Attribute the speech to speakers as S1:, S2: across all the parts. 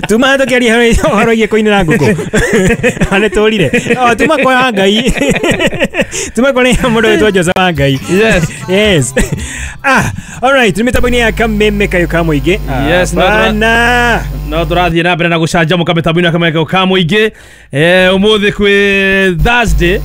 S1: Tuma tukiaria horo igie kuinira nguku. Nĩ tũrire. O tuma kwa Ngai. Tuma kwa mũndũ wĩtwo Jose wa Ngai.
S2: Yes.
S1: Yes. Ah, all right, nĩ mĩtambo-inĩ ya Kameme Kayũ ka Mũingĩ.
S2: Yes, no,
S1: Bana.
S2: No tũrathiĩ na mbere na gũcanjamũka mĩtambo-inĩ ya Kameme Kayũ ka Mũingĩ. Ũmũthĩ kwĩ Thursday.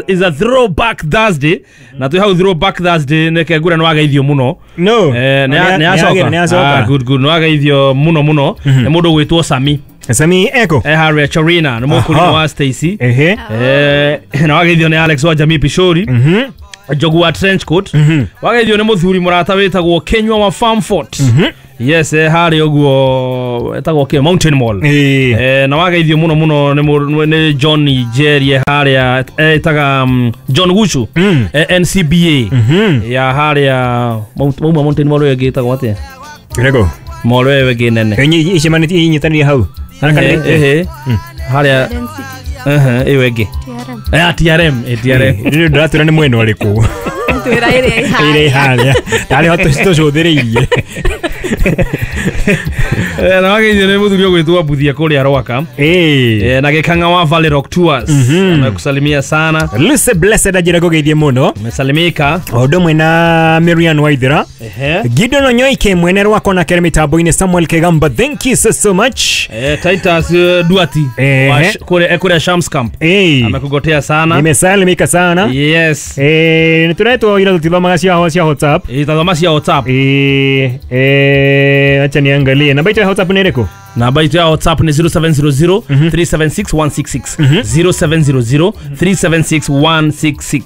S2: Is a throwback Thursday. Na twĩ hau throwback Thursday nĩke ngura nĩ wageithio mũno.
S1: No.
S2: Nĩ acoka.
S1: Nĩ acoka.
S2: Ah, good good. Nĩ wageithio mũno mũno. Nĩ mũndũ ũgwĩtwo Sami.
S1: Sami Eko.
S2: Harĩa Chorina nĩ mũkũrinũ wa Stacy.
S1: Ehe.
S2: Na wageithio nĩ Alex wa Jamii Pishori. Njogu wa trench coat. Wageithio nĩ mũthuri mũrata wĩtagwo Kenywa wa Farmfort. Yes, harĩa ũguo etagwo kĩ Mountain Mall. Na wageithio mũno mũno nĩ John Jerry harĩa etaga John Guchu. NCBA ya harĩa Mauma Mountain Mall ĩyo ĩngĩ ĩtagwo atĩa?
S1: Ĩrĩkũ?
S2: Mall ĩyo ĩngĩ nene.
S1: Icemanĩtie inyitanĩire hau.
S2: Ehe. Harĩa ĩyo ĩngĩ. TRM, TRM.
S1: Rĩu ndĩratwĩra nĩ mwena ũrĩkũ.
S3: Twĩra ĩrĩa
S1: Ĩrĩa ĩharĩa. Tarĩ ho tũcũthĩrĩirie.
S2: Na wageithio nĩ mũthuri ũgwĩtwo Mbuthia kũrĩa Rwaka. Na gĩkang'a wa Valley Rock Tours. Amekusalimia sana.
S1: Lucy Blessed anjĩra ngũgeithie mũno.
S2: Umesalimika.
S1: O ũndũ ũmwe na Miriam Waithera. Gideon Onyoike mwene rwakwa na kere mĩtambo-inĩ Samuel Kegamba, thank you so so much.
S2: Titus Duati kũrĩa Shams Camp. Amekugotea sana.
S1: Nimesalimika sana.
S2: Yes.
S1: Nĩ tũretwo ira tũtithomaga cia WhatsApp.
S2: Itathoma cia WhatsApp.
S1: Acha niangalie. Namba yetu ya WhatsApp ni ĩrĩkũ?
S2: Namba yetu ya WhatsApp ni 0700 376 166. 0700 376 166.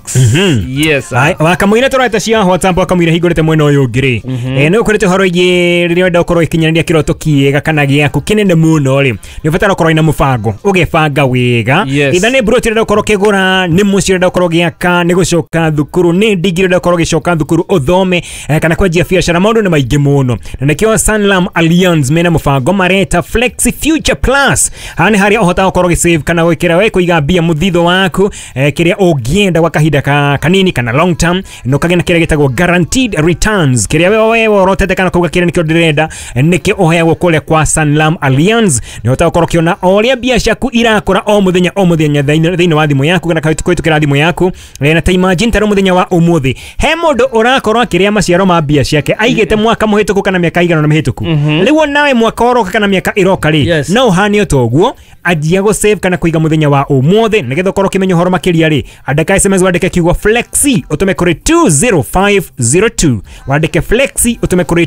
S2: Yes.
S1: Wakamũira tũraita cia WhatsApp wakamũira hingũrĩte mwena ũyũ ũngĩ rĩ. Nĩ ũkoretwo ũhoro ĩgiĩ rĩrĩa ũrenda gũkorwo ũgĩkinyanĩria kĩroto kĩega kana gĩaku kĩnene mũno rĩ, nĩ ũbatara gũkorwo wĩna mũbango, ũgebanga wega. Either nĩ mburoti ũrenda gũkorwo ũkĩgũra, nĩ mũciĩ ũrenda gũkorwo ũgĩaka, nĩ gũcoka thukuru, nĩ ndigiri ũrenda gũkorwo ũgĩcoka thukuru ũthome, kana kwanjia biacara, maũndũ nĩ maingĩ mũno. Na nĩkĩo Sanlam Allianz mena mũbango mareta Flexi Future Plus. Haha nĩ harĩa ũhotaga gũkorwo ũgĩsave kana gwĩkĩra we kũiga mbia mũthithũ waku, kĩrĩa ũngĩenda gwa kahinda kanini kana long term, na ũkagĩa na kĩrĩa gĩtagwo guaranteed returns, kĩrĩa we worotete kana kuga kĩrĩa nĩkĩo ndĩrenda, nĩkĩo ũheagwo kũrĩa kwa Sanlam Allianz. Nĩ ũhotaga gũkorwo ũkĩona o ũrĩa mbia ciaku irakũra o mũthenya o mũthenya thĩinĩ wa thimũ yaku kana kũhĩtũkĩra thimũ yaku. Na ta imagine ta rĩu mũthenya wa ũmũthĩ he mũndũ ũrakorwo akĩrĩa maciaro ma mbia ciake aigĩte mwaka mũhĩtũku kana mĩaka igana na mĩhĩtũku. Rĩu nawe mwaka ũroka kana mĩaka ĩroka rĩ, no ũhane o toguo, anjia gũ save kana kũiga mũthenya wa ũmũthĩ nĩgetha ũkorwo ũkĩmenya ũhoro makĩria rĩ, andĩka SMS wandĩke kiugo flexi ũtũme kũrĩ 20502. Wandĩke flexi ũtũme kũrĩ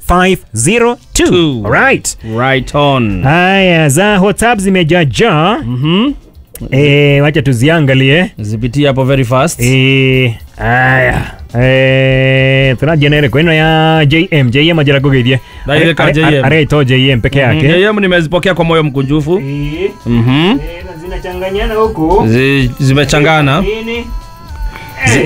S1: 20502. All right.
S2: Right on.
S1: Haya, za WhatsApp zimejaja. Wacha tuziangalie.
S2: Zipitie hapo very fast.
S1: Haya. Tunajenere kweno ya JM. JM ajira kugeithie. Areto JM peke yake.
S2: JM nimezipokea kwa moyo mkunjufu.
S1: Zinachanganyana huku.
S2: Zimechangana.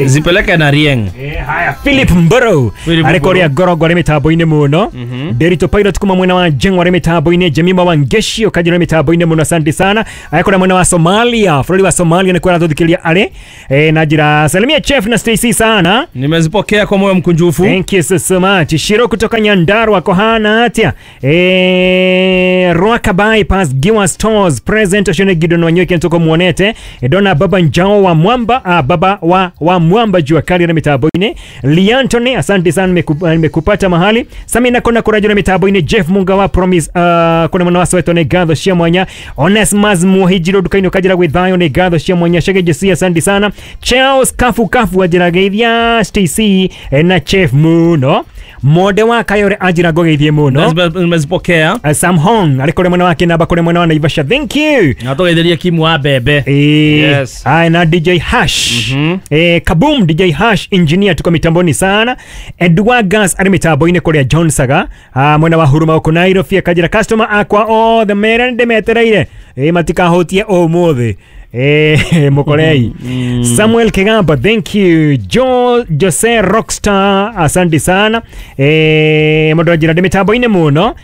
S2: Zipeleke na Rieng.
S1: Haya, Philip Mboro arekoria Gorogo arĩ mĩtambo-inĩ mũno. Derito Pilot kuma mwena wa Jengwa arĩ mĩtambo-inĩ. Jemima wa Ngeshi ũkanjĩra mĩtambo-inĩ mũno, asante sana. Arekora mwena wa Somalia, bũrũri wa Somalia nĩkuo aratũthikĩrĩria arĩ. Na njĩra salimia Chef na Stacy sana.
S2: Nimezipokea kwa moyo mkunjufu.
S1: Thank you so, so much. Shiro kutoka Nyandarua kohana atia. Rwaka bypass Giwa Stores present oshone Gideon Wanyoike ntoko muonete. Dona Baba Njao wa Mwamba, baba wa Mwamba jua kali na mitambo-inĩ. Liantone asante sana, nimekupata mahali. Samina kona kurajo na mitambo-inĩ. Jeff Munga wa Promise, kuna mwana wa Soweto ne gatho cia mwanya. Onesmus Muhijiro dukaini ukajira gwithayo ne gatho cia mwanya. Shege Jesi asante sana. Charles Kafu Kafu ajira geithia Stacy na Chef muno. Mode wa Kayore ajira gogeithie muno.
S2: Nimezipokea.
S1: Sam Hong alikore mwana wake na bakore mwana wa Naivasha, thank you.
S2: Na tugetheria Kimu wa Bebe. Yes.
S1: Na DJ Hash. Kaboom DJ Hash engineer tuko mitamboni sana. Edward Gas ari mitambo-inĩ kũrĩa John Saga, mwena wa Huruma huko Nairobi akajira customer akwa othe mere nĩndĩmetereire, matikahutie ũmũthĩ. Mukorei. Samuel Kigamba, thank you. Jose Rockstar, asante sana. Mũndũ anjĩra ndĩ mĩtambo-inĩ mũno.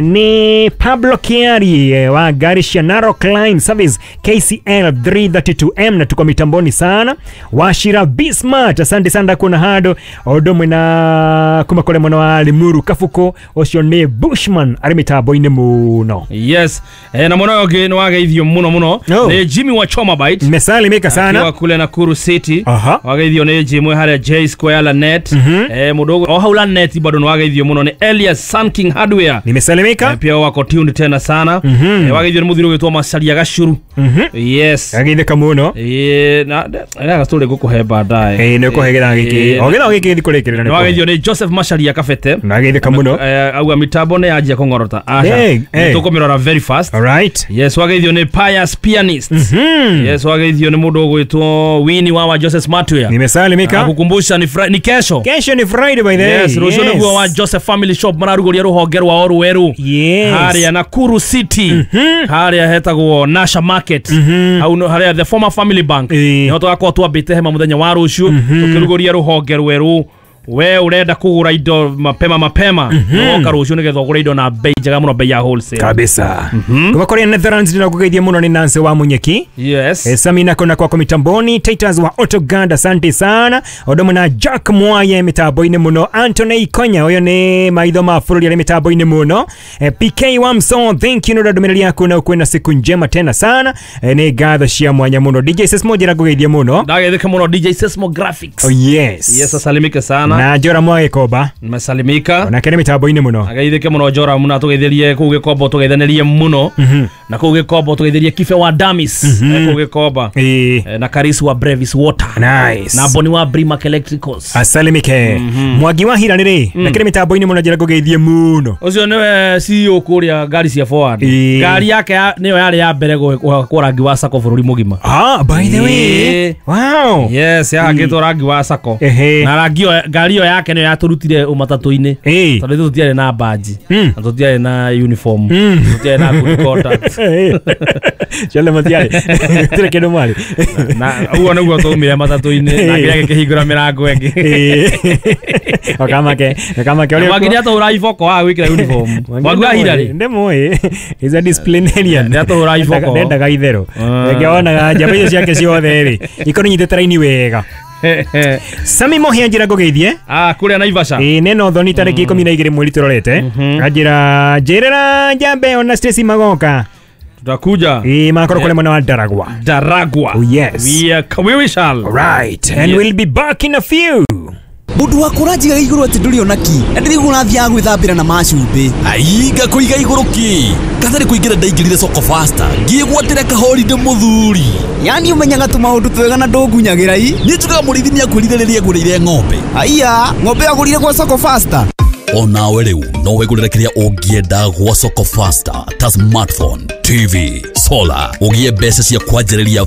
S1: Ni Pablo Kiari wa gari cia Narok Line Service KCL 332M na tuko mitamboni sana. Washira Bismart, asante sana kuna hado odo mwena kuma kule mwana wa Limuru Kafuko ucio ni Bushman ari mitambo-inĩ mũno.
S2: Yes, na mwana ũngĩ nĩ wageithio mũno mũno nĩ Jimmy wa Choma Bite.
S1: Nimesalimika sana.
S2: Akiwa kule Nakuru City. Wageithio nĩ Jimmy harĩa J Square Lanet. Mũndũ o hau Lanet bado nĩ wageithio mũno nĩ Elias Sun King Hardware.
S1: Nimesalimika.
S2: Pia wako tuned tena sana. Wageithio nĩ mũthiri ũgwĩtwo Macaria Gacuru. Yes.
S1: Ageithĩka mũno.
S2: Na gastori ngũkũhe baadaye.
S1: Nĩ ũkũhe gĩthaa gĩkĩ. O gĩthaa gĩkĩ ndikũrĩkĩrĩra.
S2: Nĩ wageithio nĩ Joseph Macaria Kabete.
S1: Nageithĩka mũno.
S2: Auga mitambo nĩ yanjia kũng'orota. Aca. Tũkũmĩrora very fast.
S1: All right.
S2: Yes, wageithio nĩ Pius Pianist. Yes, wageithio nĩ mũndũ ũgwĩtwo Winnie wa Joseph Smartwear.
S1: Nimesalimika.
S2: Kukumbusha ni kesho.
S1: Kesho ni Friday by the way.
S2: Yes, rũciũ nĩguo wa Joseph Family Shop mararugũria rũhonge rwao rwerũ.
S1: Yes.
S2: Harĩa Nakuru City. Harĩa hetagwo Nasha Market. Hau harĩa the former Family Bank. Niho tũgakorwo twambĩte hema mũthenya wa rũciũ tũkĩrugũria rũhonge rwerũ. We urenda kugura indo mapema mapema woka rũciũ nĩgetha ũgũre indo na bei njega mũno, bei ya wholesale
S1: kabisa. Kuma kũrĩa Netherlands ndĩrakũgeithia mũno nĩ Nancy wa Munyeki.
S2: Yes.
S1: Samina kona kwako mitamboni, Titus wa Autoganda, asante sana. Odomo na Jack Mwaye mitambo-inĩ mũno, Anthony Ikonya ũyũ nĩ maitho ma bũrũri arĩ mitambo-inĩ mũno. PK wa Mso, thank you nĩ ndũmĩrĩri yaku na ũkwĩna siku njema tena sana. Nĩ ngatho cia mwanya mũno. DJ Sesmo njĩra ngũgeithia mũno.
S2: Ndageithĩka mũno DJ Sesmo Graphics.
S1: Oh yes.
S2: Yes, asalimike sana.
S1: Na Njora Mwagĩkomba.
S2: Nimesalimika.
S1: Onake nĩ mitambo-inĩ mũno.
S2: Ageithĩke mũno Njora mũno, tũgeithĩrie kũu Gĩkombo, tũgeithanĩrie mũno. Na kũu Gĩkombo tũgeithĩrie Kibe wa Damis kũu Gĩkomba. Na Karisi wa Brevis Water.
S1: Nice.
S2: Na Boni wa Brimac Electricals.
S1: Asalimike. Mwangi wa Hira nĩ na kĩrĩ mitambo-inĩ mũno njĩra ngũgeithie mũno.
S2: Ũcio nĩwe CEO kũrĩa ngari cia Forward. Ngari yake nĩyo yarĩ ya mbere gwakwo rangi wa sako bũrũri mũgima.
S1: Ah, by the way. Wow.
S2: Yes, yahakĩtwo rangi wa sako. Na rangi ngari ĩyo yake nĩyo yatũrutire ũmatatũ-inĩ tondũ ithuĩ tũtiarĩ na badge na tũtiarĩ na uniform, tũtiarĩ na good contact.
S1: Ciothe matiarĩ. Gũtirĩ kĩndũ mwarĩ.
S2: Na ũguo nĩguo twaumire matatũ-inĩ na kĩrĩa gĩkĩhingũra mĩrango ĩngĩ.
S1: Okamake, okamake ũrĩa
S2: Mwangi nĩatũhũra iboko wa gwĩkĩra uniform. Mwangi wa Hira rĩ?
S1: Ndĩmũĩ. He's a disciplinarian.
S2: Nĩatũhũra iboko.
S1: Ndendaga itherũ. Reke wonaga njamba icio ciake ciothe rĩ ikorwo inyitĩte raini wega. Sami Mohi anjĩra ngũgeithie.
S2: Kũrĩa Naivasha.
S1: Neno thoni tarĩki 12 mweri tũrorete. Anjĩra njĩrĩra njambe ona Stacy magoka.
S2: Tutakuja.
S1: Makorwo kũrĩa mwena wa Daragwa.
S2: Daragwa.
S1: Oh yes.
S2: We shall.
S1: All right. And we'll be back in a few.
S3: Mundu waku ũranjigaga igũrũ atĩ ndũrĩ ona ki na ndĩraigua ũrathiaga gwĩthambĩra na macumbĩ.
S4: Ai, ngakũiga igũrũ kĩ? Katarĩ kũingĩra ndaingĩrire Soko Faster ngĩgwatĩra kahoride mũthuri.
S3: Yani ũmenyaga tũmaũndũ twega na ndũngunyagĩra i.
S4: Niĩ njugaga mũrĩithi nĩakwĩrire rĩrĩa agũrĩire ng'ombe.
S3: Aiya, ng'ombe agũrire gwa Soko Faster.
S4: Onawe rĩu no wĩgũrĩre kĩrĩa ũngĩenda gwa Soko Faster ta smartphone, TV, solar, ũgĩe mbeca cia kwanjĩrĩria